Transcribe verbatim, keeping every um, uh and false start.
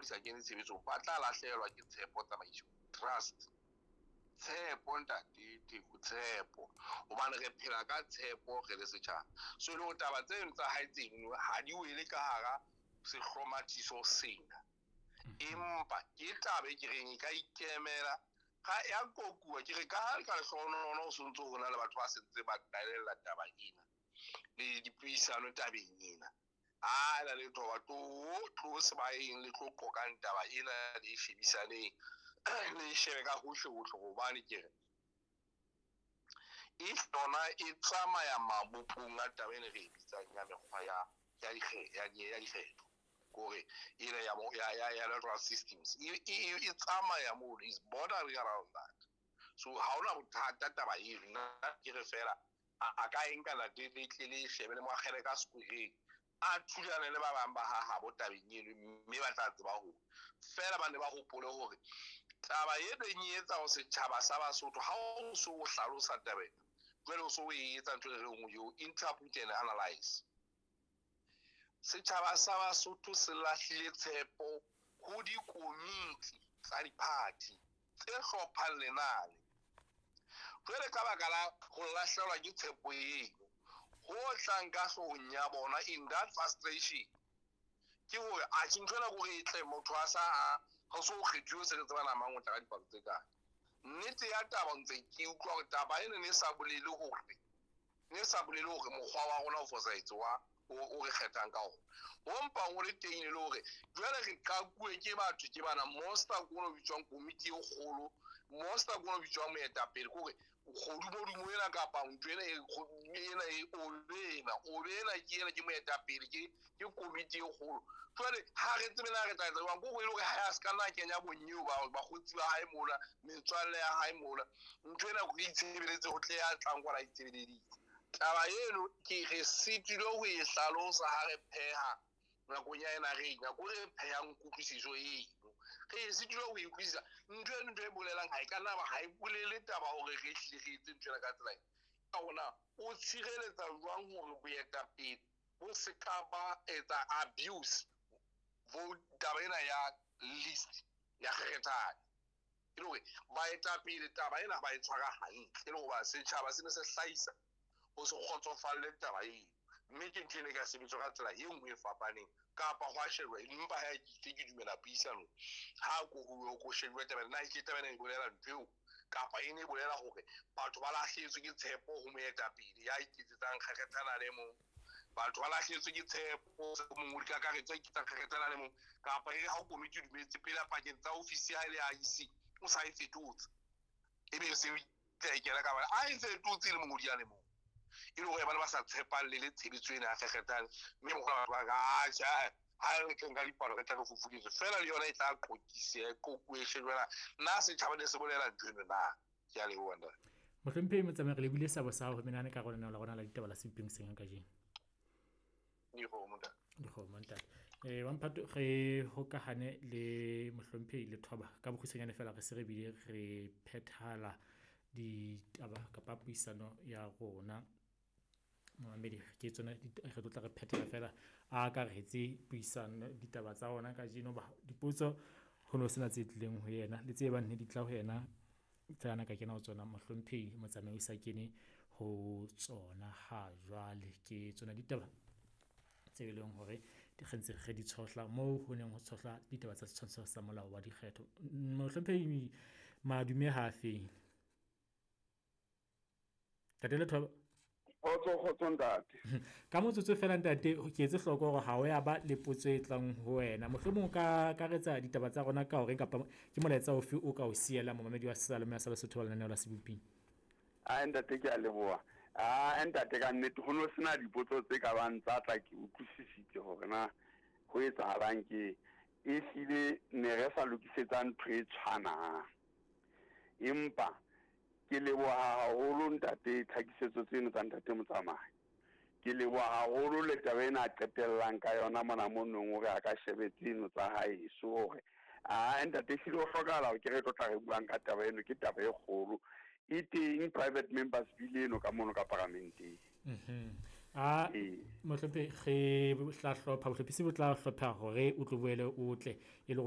di sa kene tshebetsong, ba tla lahlehelwa ke tshepo tsamaisong. Trust. Tshepo ntate Theko, tshepo. Hobane re phela ka tshepo re le setjhaba. So e le hore taba tseno tsa hae tseno ha di wele ka hara sehlomathiso sena. Empa ke taba e ke reng e ka ikemela ga ya kokuwa. Ke re ka ha ka lehlohonolo ho sontso ho na le batho ba sentse ba qalella taba ena le dipuisano tabeng ena. A na le thoba tlo tlo sebaeng le tlo qoqang taba ena le e shebisaneng le e shebe ka hohle hohle, hobane ke re e yona e tsamaya mabopong a taba ena re e bitsang ya mekgwa ya ya dikgetho ya ya dikgetho, kore ena ya ya ya ya electoral systems e e e tsamaya mono, is bordering around that. So ha hona bothata taba eno. Nna ke re fela a ka e nka nate le tle le shebe le mo akgele ka sekwereng, a thulane le ba bang ba ha habo tabeng eno, mme ba tla tseba hore fela ba ne ba hopole hore taba e neng e etsa ho setjhaba sa Basotho ha o so o hlalosa taba ena, jwale o so o e etsa ntho e re nngwe eo interpret and analyze. Setjhaba sa Basotho se lahlile tshepo ho dikomiti tsa di-party tse hlophang lenane. Jwale ka baka la ho lahlehelwa ke tshepo eno, ho tlang ka hloohong ya bona in that frustration ke hore atjhe ntho ena kore e tle motho a sa a ho so kgethuwe se re tseba na mang o tla ka dipalo tse kae. Nnete ya taba ntse ke utlwa hore taba ena ne sa bolele hore ne sa bolele hore mokgwa wa rona o fosahetse wa o re kgethang ka ona. Ho mpang ho le teng e le hore jwale re qakuwe ke batho ke bana monster ke ono bitswang komiti e kgolo, monster ke ono bitswang moetapele, ke hore kgodumodumo ena kapa ntho ena ena e obe ena, obe ena ke ena ke moetapele, ke ke komiti e kgolo. Jwale ha re tsebe na re tla etsa jwang, ke hore e le hore ha a se ka nna kenya bonyeo ba bakgotsi ba hae mona, metswalle ya hae mona, ntho ena re itshebeletse ho tle ya tlang kwana itshebeleditse. Taba eno ke re sitilwe ho e hlalosa ha re pheha nakong ya ena re nako re phehang kutlwisiso eno, re sitilwe ho e utlwisisa. Ntho eno ntho e bolelang ha e ka nna ba ha e bolele taba hore re hlile re etse ntho ena ka tsela ena. Ka hona o tshireletsa jwang hore boetapele bo se ka ba etsa abuse vote taba ena ya list ya kgethane, e le hore baetapele taba ena ba e tshwara hantle, e le hoba setjhaba se ne se hlahisa ho se kgotsofalle taba eno, mme ke ntho ene e ka sebetswa ka tsela e nngwe e fapaneng kapa ho a shejwa. Empa ha ke tle ke dumela puisanong ha ko ho ko shejwe taba ena, na ke taba ena e bolela ntho eo kapa e ne e bolela hore batho ba lahlehetswe ke tshepo ho moetapele ya iketsetsang kgekgethana le mong, batho ba lahlehetswe ke tshepo mongodi kakaretso ya iketsang kgekgethana le mong, kapa e re ha komiti e dumetse pele pakeng tsa ofisi ya hae le I C o sa e fetotse, ebe se tla e kena ka bana a e fetotse le mongodi ya le mong, e le hore ba ne ba sa tshepang le le tshebetso ena ya kgekgethane, mme mokgwa batho ba ka atjha ha re tleng ka dipalo re tla re fufuletswe fela, le yona e tla qoqise qoquwe shejwana na setjhaba ne se bolela ntho eno na. Ke a leboha ntate. Mohlomphehi Motsamai, re lebile sabo sa ho menahane ka lenaneo la rona la ditaba la Sebopeng seng kajeno. Dikgomo ntate. Dikgomo ntate. Eh wa Mphato, re hokahane le mohlomphehi Lethoba ka bokgutshwanyane fela, re se re bile re phethala ditaba kapa puisano ya rona. Momamedi, ke tsona re tlo tla re phethela fela a akaretse puisano ditaba tsa rona kajeno. Ba dipotso ho no sena tse tlileng ho yena le tse bang ne di tla ho yena tsena ka kena ho tsona mohlomphehi Motsamai o sa kene ho tsona ha jwale. Ke tsona ditaba tse leng hore di ntse re di tshohla moo ho neng ho tshohla ditaba tsa setshwantsho sa molao wa dikgetho. Mohlomphehi madume ha feng? Ntate Lethoba. Kgotso, kgotso ntate. Ka motsotso fela ntate, ke etse hloko hore ha o ya ba le potso e tlang ho wena. Mohlomong o ka akaretsa ditaba tsa rona ka hore kapa ke molaetsa ofe o ka o siela momamedi wa Salome sa Lesotho wa lenaneo la Seboping? Ah ntate, ke a leboha. Ah ntate, ka nnete ho no sena dipotso tse ka bang tsa tla, ke utlwisisitse hore na ho etsahalang. Ke e hlile ne re sa lokisetsa ntho e tshwanang, empa ke leboha haholo ntate tlhakisetso tseno tsa ntate Motsamai. Ke leboha haholo le taba ena a qetellang ka yona mona monong hore a ka shebe tseno tsa haeso hore ah ntate ehlile ho hlokahala hore ke re tlo tla re buang ka taba eno, ke taba e kgolo e teng private members bill eno ka mono ka paramenteng. Mhm. Ah mohlomphehi, re tla hlopha bohlophisi bo tla hlopha hore o tlo boele o tle e le hore